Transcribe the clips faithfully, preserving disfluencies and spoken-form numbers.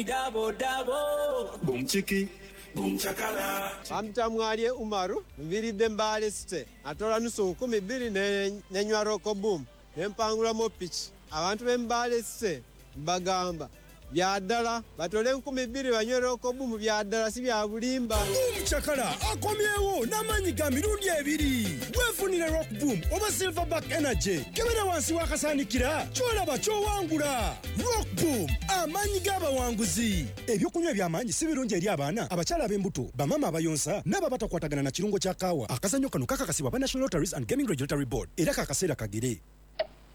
Double, double. Boom chiki, boom chakala. Amtamwalye Umaru, nviridde Mbale City. Atola nusu nkumi bbiri ne nenywa Rock Boom. Ne mpangulamu piki. Abantu b'e Mbale City mbagamba bya ddala batole nkumi bbiri banywe Rock Boom, bya ddala si bya bulimba. Boom Chakala akomyewo n'amaanyi ga mirundi ebiri. Weefunire Rock Boom oba Silverback Energy. Kebera wansi w'akasaanikira ky'olaba ky'owangula. Rock Boom, amaanyi g'abawanguzi. Ebyokunywa eby'amaanyi si birungi eri abaana, abakyala ab'embuto, bamaama abayonsa n'abo abatakwatagana na kirungo kya kaawa. Akazannyo kano kakakasibwa aba National Lotteries and Gaming Regulatory Board era kakaseera kagere.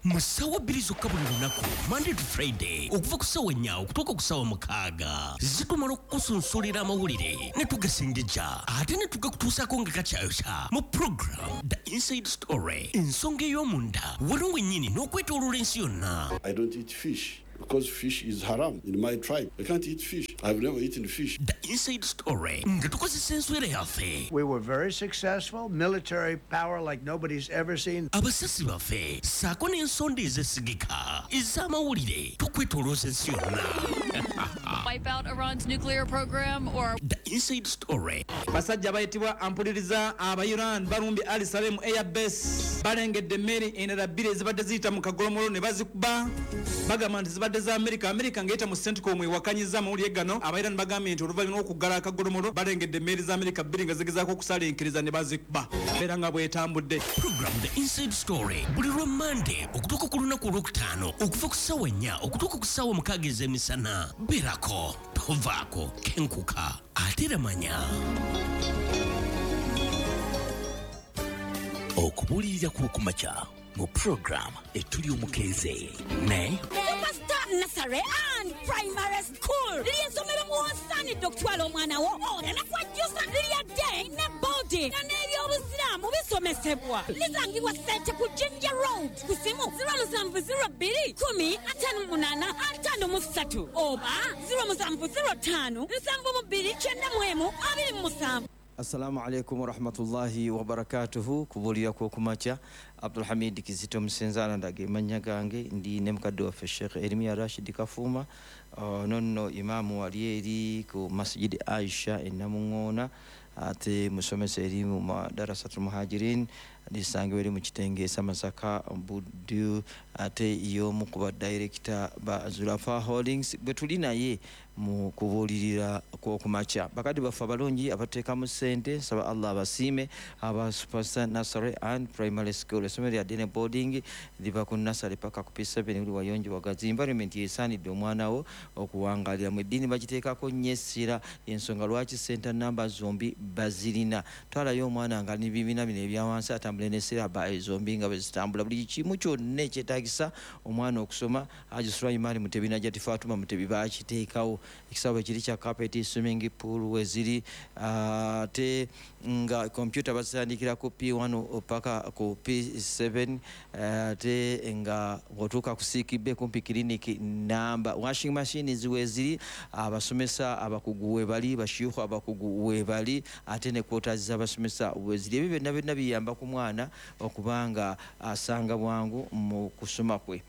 Mu ssaawa bbiri zokka buli lunaku, Monday to Friday, okuva ku ssaawa nnya okutuuka ku ssaawa mukaaga, zitumala okukusunsulira amawulire ne tugasengejja ate ne tugakutuusaako nga kakyayokya mu program The Inside Story, ensonga ey'omunda wano wennyini n'okwetooloola ensi yonna. I don't eat fish because fish is haram in my tribe. I can't eat fish. I've never eaten fish. The Inside Story nga tukozesa enswera yaffe. We were very successful, military power like nobody's ever seen. Abasasi baffe ssaako n'ensonda ezesigika ez'amawulire tukwetoolooza ensi yonna. Wipe out Iran's nuclear program or The Inside Story. Basajja bayitibwa ampuliriza aba Iran balumbye Al Salem Air Base, balengedde emmeri endala bbiri ezibadde ziyita mu kagolomolo ne bazikuba. Bagamba nti zibadde za Amerika. Amerika ng'eyita mu CENTCOM ewakanyizza amawulire gano. Aba Iran bagambye nti oluvannyuma lw'okuggala akagolomolo balengedde emmeri za Amerika bbiri nga zigezaako okusaalinkiriza ne bazikuba. Mbeera nga bw'etambudde. Program The Inside Story buli lwa Monday okutuuka ku lunaku olwokutaano okuva ku ssaawa nnya okutuuka ku ssaawa mukaaga ez'emisana. Beerako, tovaako, kenkuka ate era manya. Okubuulirira kw'okumakya mu program Etuli Omukeeze ne Superstar Nursery and Primary School ly'essomero mw'osaanidde okutwala omwana wo oleme kwejjusa. Lya day ne boarding nga n'ebyobusiraamu bisomesebwa. Lisangibwa Ssente ku Jinja Road, ku simu zero musanvu zero bbiri kumi ataano munaana ataano mu ssatu oba zero musanvu zero ttaano nsanvu mu bbiri kyenda mu emu abiri mu musanvu. Assalamu alaikum warahmatullahi wabarakatuhu. Kubuulira kw'okumakya, Abdulhamid Kizito Musenzaala ndaga emannya gange. Ndi ne mukadde waffe Sheikh Erimiya Rashid Kafuuma, uh, nonno imaamu wali eri ku Masjid Aisha e Namuŋŋoona, ate musomesa eri mu Madarasatul Muhajirin lisangibwa eri mu Kitenge Masaka Buddu, ate y'omu ku badirekita ba Zulafa Holdings bwe tuli naye mu kubuulirira kw'okumakya. Bakadde baffe abalungi abateekamu ssente, nsaba Allah abasiime. Aba Superstar Nursery and Primary School, essomero lya day boarding, liva ku nursery paka ku P seven. Buli wayonjo, wagazi, environment yesaanidde omwana wo okuwangaaliramu. Eddiini bagiteekako nnyo essira, ensonga lwaki center namba zombi bazirina. Twalayo omwana nga n'ebibiina bino ebyawansi atambule ne siraba zombi nga bwe zitambula. Buli kimu kyonna ekyetaagisa omwana okusoma, Haji Sulaiman Mutebi, Najati Fatuma Mutebi bakiteekawo. Ekisaawe kiri kya carpet, swimming pool weziri, ate nga computer bazitandikira ku P one paka ku P seven, ate nga bw'otuuka ku sick bay kumpi clinic namba, washing machine ziweziri, abasomesa abakugu webali, bashiyukhu abakugu webali, ate ne quarters z'abasomesa weziri. Ebyo byonna byonna biyamba ku mwana okubanga asanga bwangu mu kusoma kwe.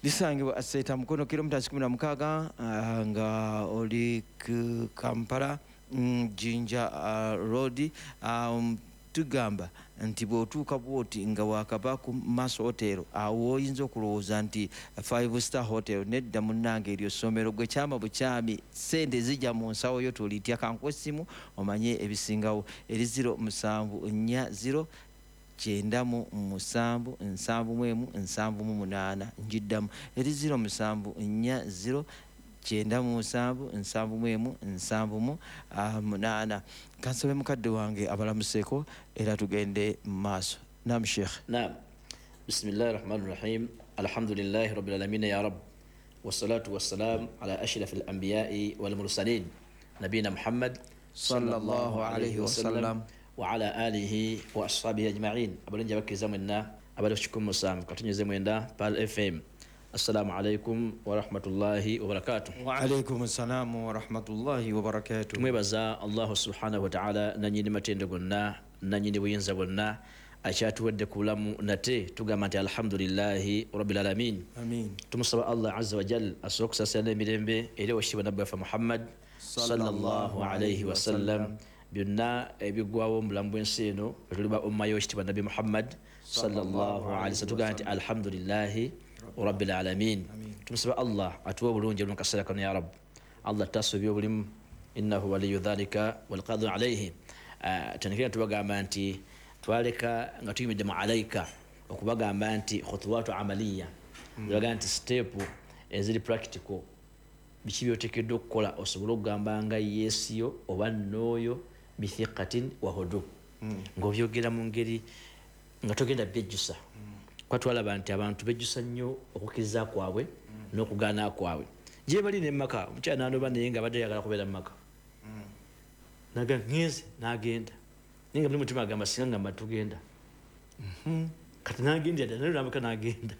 Lisangibwa Seeta Mukono, kilomita kumi na mukaaga ah, nga oli ku Kampala mm, Jinja uh, Road. um, tugamba nti bw'otuuka bwoti nga wakava ku Maso Hotel, awo oyinza okulowooza nti five star hotel. Nedda munnange, eryo ssomero. Gwe kyama bukyami, sente zijja mu nsawo yo, tolitya. Kankuwa essimu omanye ebisingawo, eri zero musanvu nnya zero kyenda mu musanvu nsanvu mu emu nsanvu mu munaana. Njiddamu, eri zero musanvu nnya zero kyenda mu musanvu nsanvu mu emu nsanvu mu ah, munaana. Kansabe mukadde wange abalamuseeko era tugende mu maaso. Nam Sheikh. نعم، بسم الله الرحمن الرحيم، الحمد لله رب العالمين يا رب، والصلاة والسلام على أشرف الأنبياء والمرسلين نبينا محمد صلى الله عليه وسلم. وعلى آله وأصحابه أجمعين. Abalungi abakkiriza mwenna abali ku kikumi musanvu katunyeze mwenda Pearl F M, assalamu alaikum warahmatullahi wabarakatuh. Waalaikum assalamu warahmatullahi wabarakatuh. Tumwebaza Allahu subhanahu wataala, nanyini matendo gonna, nanyini buyinza bwonna, Akyatuwadde ku bulamu nate tugamba nti alhamdulillahi rabbil alamin. Amin. Tumusaba Allah azza wa jal asobole okusaasira n'emirembe eri owekitiibwa nabbi waffe Muhammad sallallahu alaihi wasallam. Byonna ebigwawo mu bulamu bw'ensi eno tuliba umma y'owekitiibwa nabbi Muhammad sallallahu alaihi wasallam. Tugamba nti alhamdulillahi rabbil alamin. Tumusaba Allah atuwe obulungi mu kaseera kano ya Rabb. Allah tasobye obulimu innahu waliyu dhalika wal qadiru alayhi. Tandikira tubagamba nti twaleka nga tuyimidde mu alaika okubagamba nti khutuwatu amaliya, bagamba nti step eziri practical, biki byoteekeddwa okukola osobole okugamba nga yesiyo oba nooyo bithiqatin wa hudu, ng'obyogera mu ngeri nga togenda byejjusa. Kuba twalaba nti abantu bejjusa nnyo okukkiriza kwabwe n'okugaana kwabwe. Gye bali ne maka omukyala n'anoba naye nga abadde ayagala kubeera mu maka, naga ngenze n'agenda naye nga buli mutima agamba singa ngamba tugenda, kati n'agenda ddala naye n'amaka n'agenda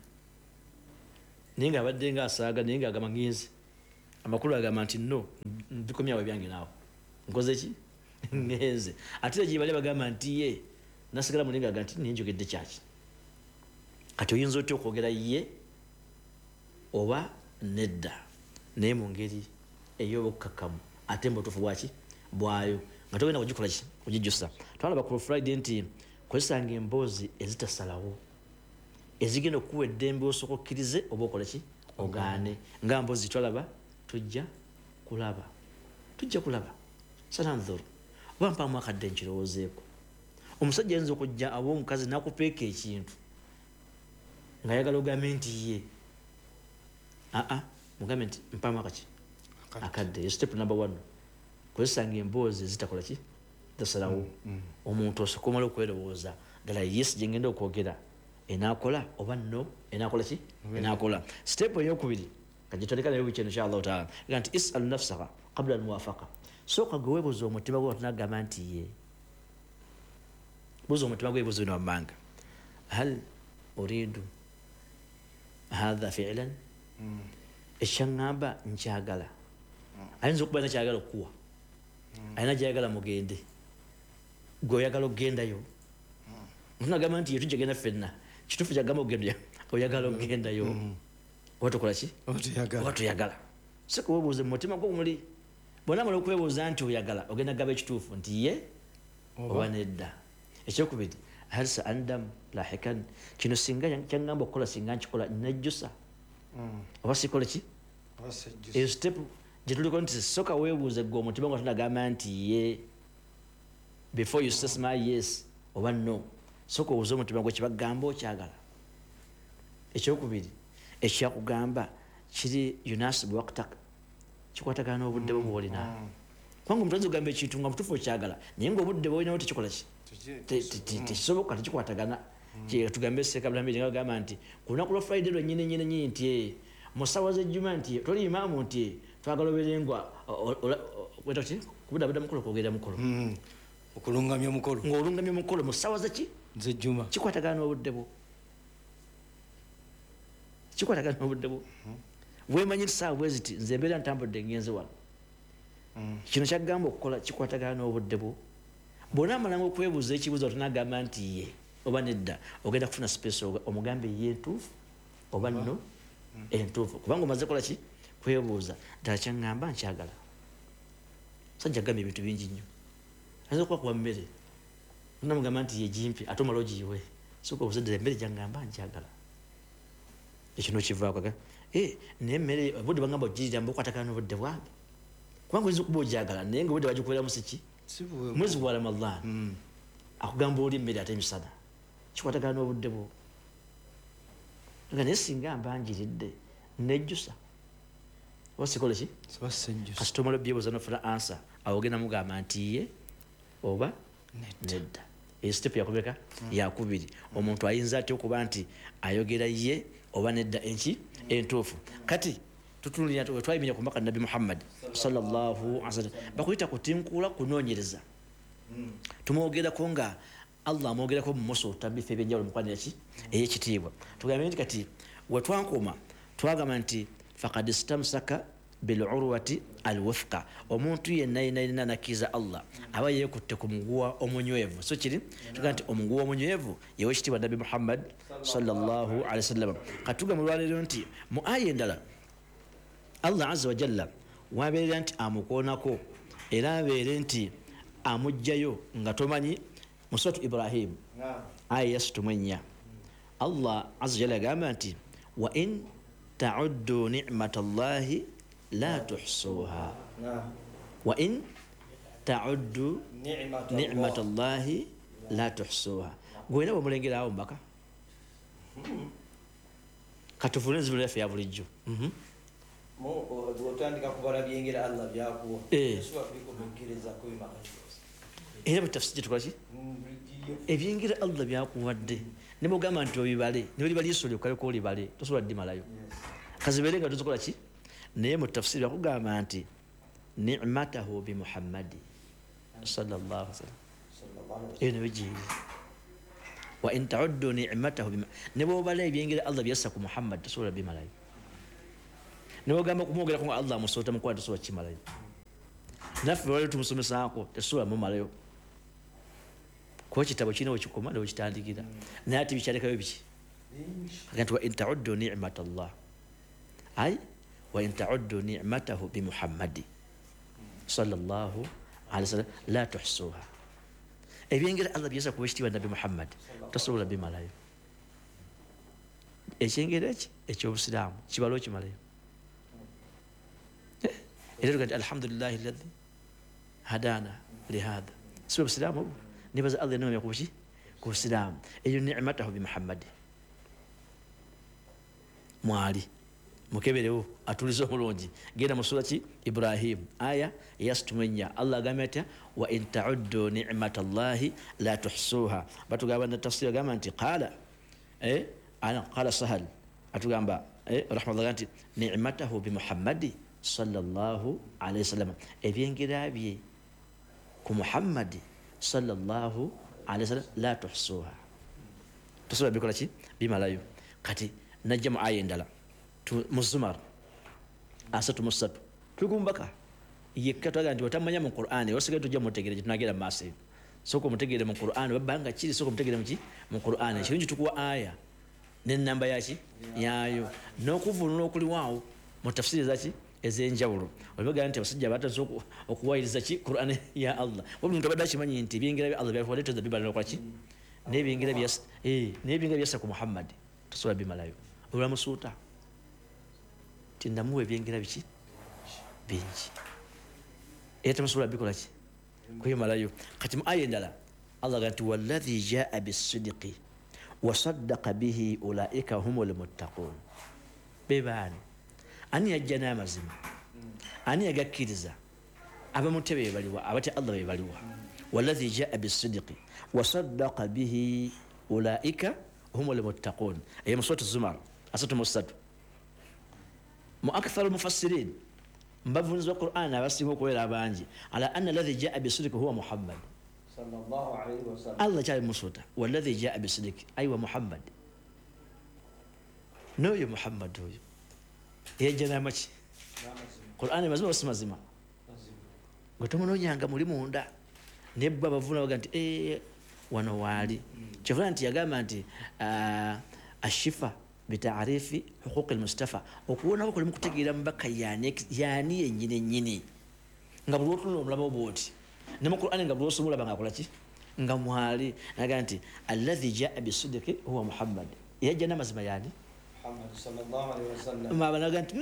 naye nga abadde nga asaaga naye nga agamba ngenze. Amakulu agamba nti no mbikomyawo ebyange naawe nkoze ki ngenze. Ate gye bali bagamba nti ye nasigala muli nga agamba nti naye njogedde kyaki. Kati oyinza otya okwogera ye oba nedda naye mu ngeri ey'obukkakkamu ate mu butuufu bwaki bwayo nga togenda kugikola ki kugijjusa. Twalaba ku Friday nti kozesanga emboozi ezitasalawo ezigenda okuwa eddembe osooka okkirize oba okola ki ogaane. Nga mboozi twalaba tujja kulaba tujja kulaba sananzuru oba mpaamu akadde nkirowoozeeko. Omusajja ayinza okujja aba omukazi n'akupeeka ekintu ng'ayagala ogambe nti ye aa mugambe nti mpaamu akaki akadde. Eyo step number one, kozesanga emboozi ezitakola ki zitasalawo. Omuntu osooka omala okwerowooza ddala yes gye ngenda okwogera enaakola oba no enaakola ki enaakola. Step eyokubiri kagitandika nayo wiiki eno inshallah taala ega nti isal nafsaka qabla almuwafaqa. Sooka gwe weebuuze omutima gwo tunagamba nti ye, buuza omutima gwo ebibuuzo bino wammanga, hal uridu hadha fi'lan, ekyaŋŋamba nkyagala. Ayinza okuba alina kyayagala okukuwa, alina gyayagala mugende, gwe oyagala okugendayo. Tunagamba nti ye tujja genda ffenna, kituufu kyagamba okugenda oyagala okugendayo oba tokola ki oba toyagala. Sooka weebuuze mu mutima gwo muli, bw'onaamala okwebuuza nti oyagala ogenda kugaba ekituufu nti ye oba nedda. Ekyokubiri, hal sa'andam lahikan, kino singa kyaŋŋamba okukola singa nkikola nejjusa oba sikola ki. Eyo step gye tuliko nti sooka weebuuze gwe omutima nga tonagamba nti ye before you say my yes oba no, sooka obuuze omutima gwe kibagamba okyagala. Ekyokubiri, ekyakugamba kiri yunasibu waqtak, kikwatagana n'obudde bwo bw'olina. Kubanga omuntu ayinza okugamba ekintu nga mutuufu okyagala naye ng'obudde bw'olinawo tekikola ki tekisoboka, tekikwatagana. Tugambe Ssekabulambiri nga bagamba nti ku lunaku lwa Friday lwennyini nnyini nnyini nti mu ssaawa z'ejjuma nti toli imaamu nti twagala obeere nga kubudaabuda mukolo kwogera mukolo okulungamya omukolo ng'olungamya omukolo mu ssaawa zeki z'ejjuma, kikwatagana n'obudde bwo kikwatagana n'obudde bwo. Weemanyi nti ssaawa bwe ziti nze mbeera ntambudde ngenze wano, kino kyagamba okukola kikwatagana n'obudde bwo. Bw'onaamalanga okwebuuza ekibuuzo tonagamba nti ye oba nedda, ogenda kufuna space omugambe ye entuufu oba no entuufu, kubanga omaze kola ki kwebuuza ddala kyaŋŋamba nkyagala. Musajja agamba ebintu bingi nnyo, ayinza okuba kuwa mmere onamugamba nti ye gimpi ate omala ogiyiwe, sooka obuuze ddala emmere gyaŋŋamba nkyagala. Ekyo nokivaako naye emmere obudde bagamba ogirira mbukwatagana n'obudde bwange, kubanga oyinza okuba ogyagala naye nga obudde bagikubeeramu si ki mwezi gwa Ramadhan akugamba oli emmere ate emisana, kikwatagana n'obudde bwo. Nga naye singa mba ngiridde nejjusa oba sikole ki kasita omala obyebuuza n'ofuna ansa, awo ogenda mugamba nti ye oba nedda. Eyo step yakumeka yakubiri. Omuntu ayinza atya okuba nti ayogera ye oba nedda enki entuufu. Kati tutunulira twayimirira ku mbaka Nabbi Muhammad sallallahu alaihi wasallam, bakuyita kutinkula kunoonyereza. Tumwogerako nga Allah amwogerako mu Musa otabbifa ebyenjawulo mu kwanira ki ey'ekitiibwa. Tugambe nti kati we twankoma twagamba nti faqad istamsaka bilurwati alwuthqa. Omuntu yenna yenna yenna nakkiriza Allah aba yeekutte ku muguwa omunywevu. So kiri tugaa nti omuguwa omunywevu yewe ekitiibwa Nabbi Muhammad sallallahu alaihi wasallam. Katuga mu lwaleero nti mu aya endala Allah azza wa jalla wabeera nti amukoonako era abeere nti amugjayo nga tomanyi. Mu suratu Ibrahim aya ya sittu mu ennya Allah azza wa jalla agamba nti wa in ta'uddu ni'matallahi la tuhsuha. Wa in ta'uddu ni'matallahi la tuhsuha. Gwena bw'omulengera awo mbaka katufune enzibu yaffe ya bulijjo. Otandika kubala byengera Allah byakuwa tosobola kubikomekereza kubimala. Era butafsiri gye tukola ki? Ebyengera Allah byakuwadde ne bw'ogamba nti obibale ne bwe liba liisolo okaleka olibale tosobola ddimalayo kazibeere nga tozikola ki. Naye mu tafsiri bakugamba nti ni'matahu bi Muhammadi sallallahu alaihi wasallam eyo nayo giri wa in ta'uddu ni'matahu ne bw'obala ebyengera Allah byassa ku Muhammad tosobola bimalayo. Ne bw'ogamba kumwogerako nga Allah amusoota mukwata tosobola kimalayo. Naffe wali tumusomesaako tesobola mumalayo kuba ekitabo kirina wekikoma newekitandikira naye ate bikyalekayo biki. Agamba nti wa in ta'uddu ni'matallah ay wa in ta'uddu ni'matahu bi Muhammadi sallallahu alaihi wasallam la tuhsuha. Ebyengera Allah byassa ku ekitiibwa Nabbi Muhammad tosobola bimalayo. Ekyengera eki eky'obusiraamu kibala okimalayo. Era tuga nti alhamdulillahi alladhi hadana lihadha. Si obusiraamu obwo nebaza Allah ennoomya ku ki ku busiraamu. Eyo ni'matahu bi Muhammadi mwali mukeberewo atulize obulungi. Genda mu sura ki Ibrahim aya ya sittu mu ennya Allah agambye atya wa in ta'uddu ni'matallahi la tuhsuha. Batugamba na tafsiri agamba nti qala eh ana qala Sahal atugamba eh rahmatullah nti ni'matahu bi Muhammadi sallallahu alaihi wasallam ebyengera bye ku Muhammadi sallallahu alaihi wasallam la tuhsuha tosobola bikola ki bimalayo. Kati najja mu aya endala mu Zumar asatu mu ssatu tugumbaka yekka twaga nti otamanya mu Qur'ani osigaye tujja mutegeere gye tunagenda mu maaso eyo. Sooka omutegeere mu Qur'ani babanga kiri sooka omutegeere mu ki mu Qur'ani. Kirungi tukuwa aya n'ennamba yaki yaayo n'okuvvuunula okuliwaawo mu tafsiri zaki ez'enjawulo. Olibagamba nti abasajja batandise okuwayiriza ki Qur'ani ya Allah. Buli muntu abadde akimanyi nti ebyengera bya Allah byakuwadde toyinza bibala n'okola ki n'ebyengera byassa eh n'ebyengera byassa ku Muhammad tosobola bimalayo. Olwamusuuta nti namuwa ebyengera biki bingi era temusobola bikola ki kwemalayo. Kati mu aya endala Allah agamba nti walladhi jaa bissidiqi wa saddaqa bihi ulaika humul muttaqun. Be baani ani yajja n'amazima ani yagakkiriza abamutya be baliwa abatya Allah be baliwa. Walladhi jaa bissidiqi wa saddaqa bihi ulaika humul muttaqun. Eyo mu suratu Zumar asatu mu ssatu mu aktharu mufassirin mbavunzi wa Qur'an abasinga okubeera abangi ala anna alladhi jaa bisidiki huwa Muhammad sallallahu alaihi wasallam. Allah kyali musuuta walladhi jaa bisidiki aywa Muhammad n'oyo Muhammad oyo yajja n'amaki Qur'an mazima oba si mazima gwe tomunoonyanga muli munda naye bo abavuna baga nti eh wano waali. Kyovula nti yagamba nti ashifa bitaarifi huquqi almustafa okuwonako kuli mu kutegeera mubaka yaani yaani yennyini ennyini nga buli lw'otunula omulaba bw'oti ne mu Qur'ani nga buli lw'osoma olaba ng'akola ki nga mwali. Naga nti alladhi jaa bisidiki huwa Muhammad yajja n'amazima yaani Muhammad sallallahu alaihi wasallam. Mabanaga nti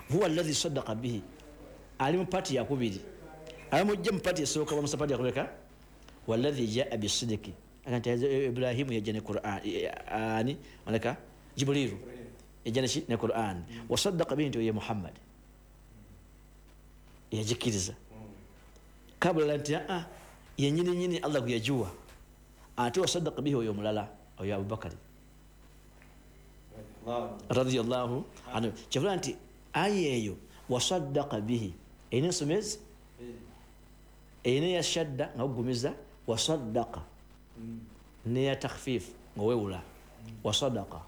huwa alladhi saddaqa bihi ali mu pati yakubiri abamujja mu pati esooka bamusa pati yakuleka walladhi jaa bisidiki aga nti Ibrahimu yajja ne Qur'an ani malaka Jibrilu yajja ne Qur'an wa saddaqa bihi nti ye Muhammad yagikiriza kabula nti a yennyini nyini Allah kuyajuwa ate wa saddaqa bihi oyo mulala oyo Abubakari radiyallahu anhu. Kyavula nti aya eyo wa saddaqa bihi erina ensoma ezi erina eya shadda nga ogumiza wa saddaqa n'eya takhfif nga wewula wa sadaqa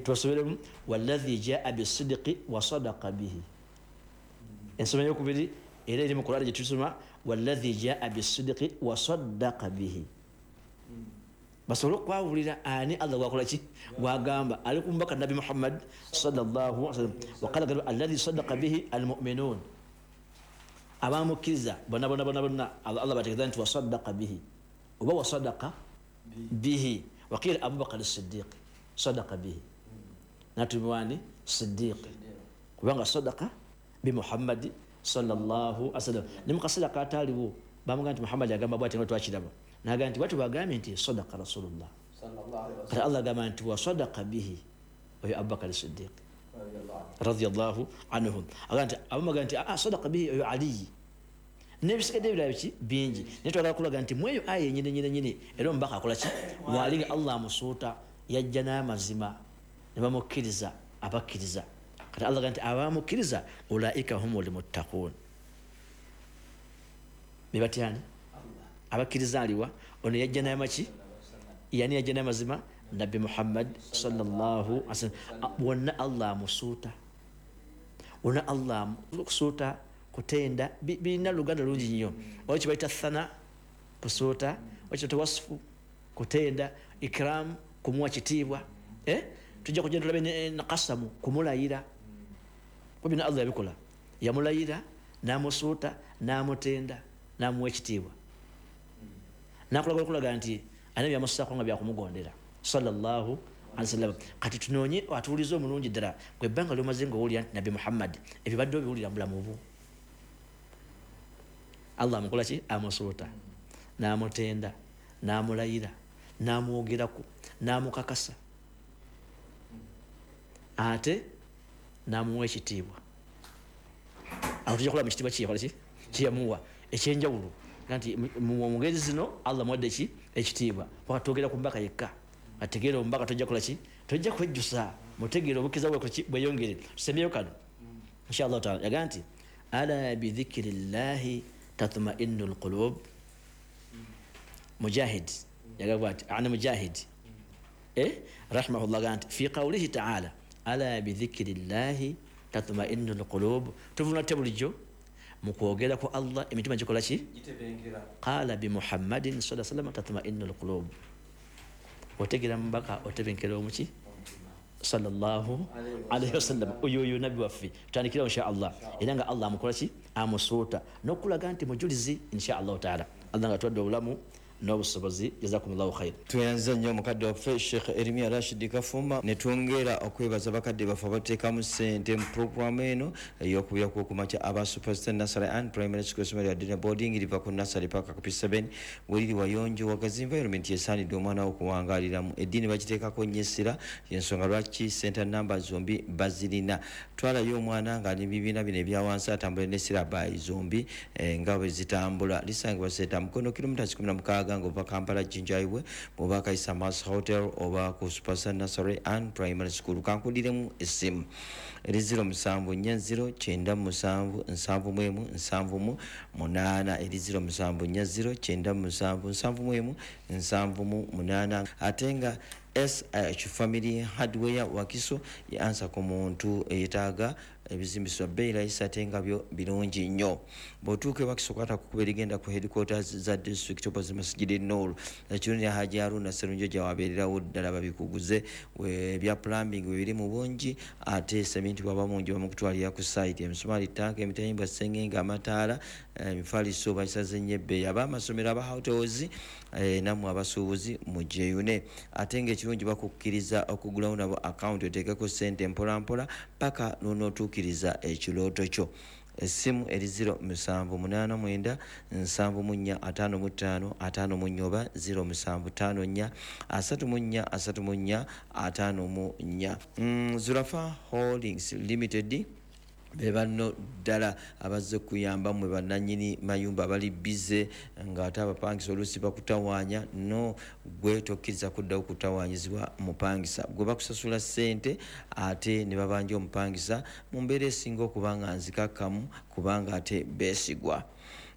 Tubasoberemu walladhi jaa bisidqi wa sadaqa bihi. Ensoma eyokubiri era eri mu Qur'an gye tusoma, walladhi jaa bisidqi wa saddaqa bihi. Basobole okwawulira ani Allah gwakola ki gwagamba ali ku mubaka Nabbi Muhammad sallallahu alaihi wasallam. Waqala alladhi saddaqa bihi almu'minun, abamukkiriza bonna bonna bonna bonna Allah bategeeza nti wasaddaqa bihi oba wasaddaqa bihi. Waqila Abubakar as-Siddiq sadaqa bihi, natumiwani Siddiq kubanga sadaqa bi Muhammad sallallahu alaihi wasallam. Ne mukaseera kataaliwo bamugamba nti Muhammad agamba bw'ati nga twakiraba, n'agamba nti bw'ati bagambye nti sadaqa Rasulullah sallallahu alaihi wasallam. Allah agamba nti wa sadaqa bihi oyo Abubakar Siddiq radiyallahu anhu. Agamba nti abamugamba nti ah sadaqa bihi oyo Ali. N'ebisigadde ebirala biki bingi, naye twagala kulaga nti mweyo aya yennyini nyini nyini era omubaka akola ki waali nga Allah amusuuta yajja n'amazima ne bamukkiriza abakkiriza. Kati Allah agamba nti abamukkiriza ulaika humul muttaqun, be batyani abakkiriza aliwa ono yajja n'amaki yani yajja n'amazima Nabbi Muhammad sallallahu alaihi wasallam. Wonna Allah amusuuta, wonna Allah amusuuta kutenda birina luganda lungi nnyo. Waliwo kye bayita thana kusuuta, waliwo kye wasfu kutenda, ikram kumuwa kitiibwa, eh tujja kugenda tulabe ne qasamu kumulayira. Kuba bino Allah yabikola, yamulayira n'amusuuta n'amutenda n'amuwa ekitiibwa, n'akulaga okulaga nti alina byamusaako nga byakumugondera sallallahu alaihi wasallam. Kati tunoonye atuwulize omulungi ddala gwe ebbanga ly'omaze ng'owulira nti Nabbi Muhammad ebibadde obiwulira mu bulamu bwo. Allah amukola ki amusuuta n'amutenda n'amulayira n'amwogerako n'amukakasa ate n'amuwa ekitiibwa. Awo tujja kulaba mu kitiibwa ki yakola ki kyeyamuwa ekyenjawulo nti mu ngeri zino Allah muwadde ki ekitiibwa. Paka twogera ku mbaka yekka, ategeera omubaka tojja kukola ki tojja kwejjusa, mutegeera obukkiriza bwe ki bweyongere. Tusembyeyo kano insha Allah taala. Yagamba nti ala bidhikrillahi tatma'innu alqulub. Mujahid yagamba nti ana Mujahid eh rahimahullah gamba nti fi qawlihi ta'ala ala bidhikrillahi tatma'innu alqulub. Tuvuna te bulijjo mu kwogera ku Allah emitima gikola ki gitebenkera. Qala bi Muhammadin sallallahu alaihi wasallam tatma'innu alqulub. Otegera mubaka otebenkera omuki sallallahu alaihi wasallam. Oyo oyo nabbi waffe tutandikira insha Allah era nga Allah amukola ki amusuuta n'okulaga nti mujulizi insha Allah taala. Allah nga tuwadde obulamu n'obusobozi. Jazakumullahu khair. Tweyanza nnyo mukadde waffe Sheikh Eremia Rashid Kafuma, ne twongera okwebaza bakadde baffe abateekamu ssente mu puroguramu eno ey'okubira kw'okumakya aba Superstar Nursery and Primary School essomero lya Dina Boarding liva ku Nursery paka ku P seven weriri wayonjo wagazi environment esaanidde omwana wo okuwangaaliramu. Eddiini bagiteekako nnyo essira, y'ensonga lwaki center number zombi bazirina. Twalayo omwana ng'ali mu bibiina bino ebya wansi atambule ne sirabayi zombi nga bwe zitambula. Lisangibwa Seeta Mukono kilomita kikumi na mukaaga ng'ova Kampala Jinja Highway bw'oba Kaisa Mass Hotel oba ku Superstar Nursery and Primary School. Kankuliremu essimu eri zero musanvu nnya zero kyenda musanvu nsanvu mu emu nsanvu mu munaana, eri zero musanvu nnya zero kyenda musanvu nsanvu mu emu nsanvu mu munaana. Ate nga S H Family Hardware Wakiso yansa ku muntu eyetaaga ebizimbiswa bbeeyi layisi ate nga byo birungi nnyo. Bw'otuuka e Wakiso kwata ku kkubo erigenda ku headquarters za district opposite Masjid Nur, ekirungi Haji Haruna Sserunjogi wabeererawo ddala babikuguze ebya plumbing we biri mu bungi, ate seminti bw'aba mungi bamukutwalira ku site, emisumaali, ttanka, emitayimbwa, ssengenge, amataala, emifaliso bagisaze nnyo ebbeeyi. Ab'amasomero, aba hotels nammwe abasuubuzi mugyeyune. Ate ng'ekirungi bakukkiriza okugulawo nabo akawunti oteekeko ssente mpolampola paka lw'onootuukiriza ekirooto kyo. Essimu eri zero musanvu munaana mwenda nsanvu mu nnya ataano mu ttaano ataano mu nnya oba zero musanvu ttaano nnya asatu mu nnya asatu mu nnya ataano mu nnya. Zurafa Holdings Limited be banno ddala abazze kuyamba mmwe bannannyini mayumba abali bize ng'ate abapangisa oluusi bakutawaanya. No gwe tokkiriza kuddawo kutawaanyizibwa mupangisa, gwe bakusasula ssente ate ne babanja omupangisa mu mbeera esinga okuba nga nzikakkamu kubanga ate beesigwa.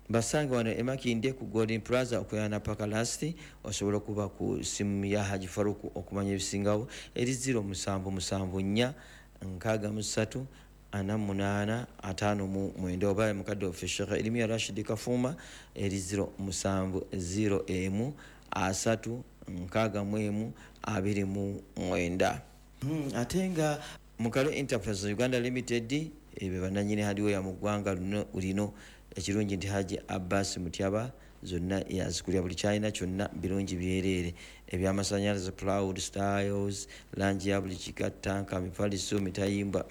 Basange wano emakindye ku Golden Plaza okuyana paka lasti. Osobola okuba ku simu ya Haji Faruku okumanya ebisingawo eri zero musanvu musanvu nnya nkaaga mu ssatu ana munaana ataano mu mwenda, oba mukadde waffe Sheikh Erimiya Rashid Kafuuma eri zero musanvu zero emu asatu nkaaga mu emu abiri mu mwenda. Hmm, ate nga Mukalo Enterprise Uganda Limited ebe bannannyini hardware mu ggwanga lino. Ekirungi nti Haji Abbas Mutyaba zonna yazikulya, buli kyalina kyonna birungi byereere, ebyamasanyalaze, plywood styles, langi ya buli kika, tanka, mifaliso, mitayimbwa.